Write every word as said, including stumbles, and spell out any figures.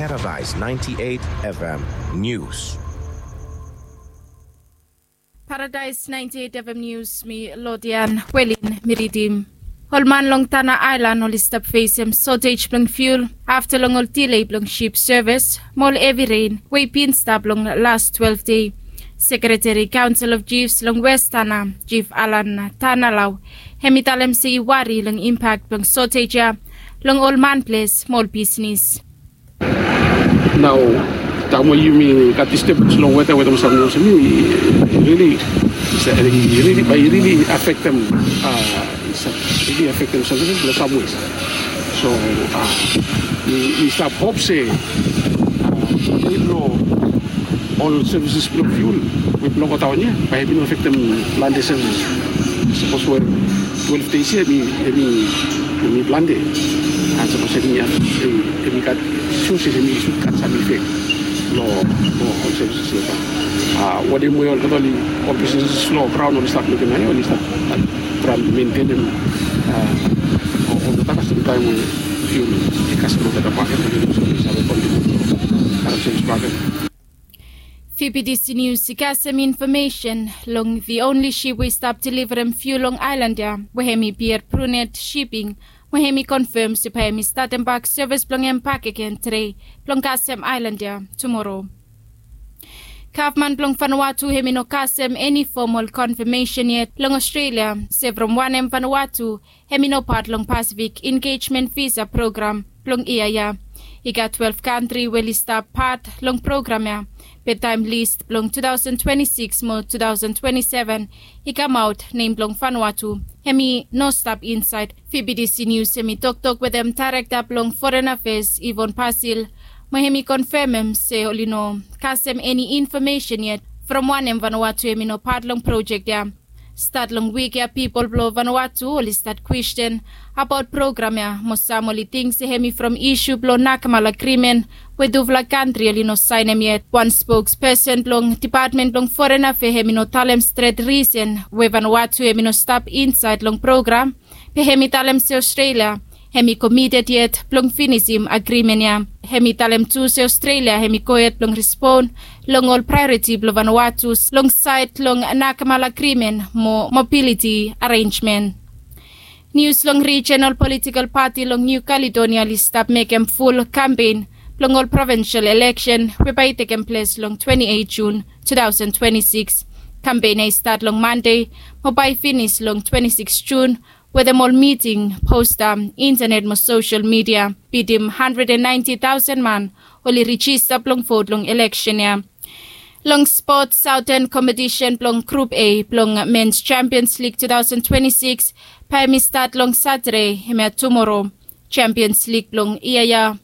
Paradise ninety-eight F M News. Paradise ninety-eight F M News, mi Lodian Welin mi ridim. Ol man long Tana Aelan oli stap fesem sotej blong fiul afta long ol dile blong sip sevis mo ol hevi ren we i bin stap long las twelve dei. Sekreteri Kaonsel of Jifs long Wes Tana, Jif Alan Tanalau, hem i talem se i wari long impak blong sotej ya long ol man ples mo ol bisnis. Nao taem we yumi gat disturbens long weta, weta mo samting olsem, i rili, i rili, bae i rili afektem, a, i sa-, rili afektem samting long sam wes. So, a, mi, mi stap hop se, a, nid blong ol sevises blong fiul we blong godaon ya bae i bin afektem plante sevises. Sapos we twelve dei ya hem i, hem i, hem i plante. An sapos hem i, hem i gat suse, hem i sud gat sam ifek long, long ol sevises ya. A, wanem we olgeta ol, ol bisnis long graon oli stap mekem nao ya, oli stap, a, traem mentenem, a, olgeta kasem taem we fiul i kasem olgeta bakegen, oli save kontinua long karem sevis bakegen. V B D C News i kasem infomesen long the only ship we i stap deliverem fiul long aelan ya, we hem i Pierre Brunet Shipping, we hem i konfem se bae hem i statem bak sevis blong hem bakegen tede blong kasem aelan ya tumoro. Gavman blong Vanuatu hem i no kasem eni fomol konfamesen yet long Australia se from wanem Vanuatu hem i no pat long Pacific Engagement Visa Program blong yia ya. I gat twelve kantri we oli stap pat long program ya, be taem lis blong two thousand twenty-six mo two thousand twenty-seven i kamaot, nem blong Vanuatu hem i no stap insaed. V B D C News hem i toktok wetem daerekta blong Foreign Affairs, Yvonne Basil, mo hem i konfemem se oli no kasem eni infomesen yet from wanem Vanuatu hem i no pat long projek ya. Stat long wik ya pipol blong Vanuatu oli stat kwesten abaot program ya, mo sam oli ting se hem i from isu blong Nakemal Agrimen we tufala kantri oli no saenem yet. Wan spokspesen blong Depatmen blong Foren Afea hem i no talem stret risen we Vanuatu hem i no stap insaed long program, be hem i talem se Australia hem i komited yet blong finisim agrimen ya. Hem i talem tu se Australia hem i gohed blong respon long ol praeoriti blong Vanuatu long saed long Nakemal Agrimen mo mobiliti arenjmen. Nius long rijenal politikal pati long Niu Kaledonia oli stap mekem ful kampen blong ol provensel eleksen we bae i tekem ples long twenti eit Jun tu taosen twenti sikis. Kampen ya i stat long Mande mo bae i finis long twenti sikis Jun, wetem ol miting, posta, intenet mo sosel midia. Bitim handred and naenti taosen man oli rijista blong vot long eleksen ya. Long spot, saoten kompetisen blong Grup A blong Mens Champions Lig tu taosen twenti sikis bae hem i stat long Satade, hemia tumoro. Champions Lig blong yia ya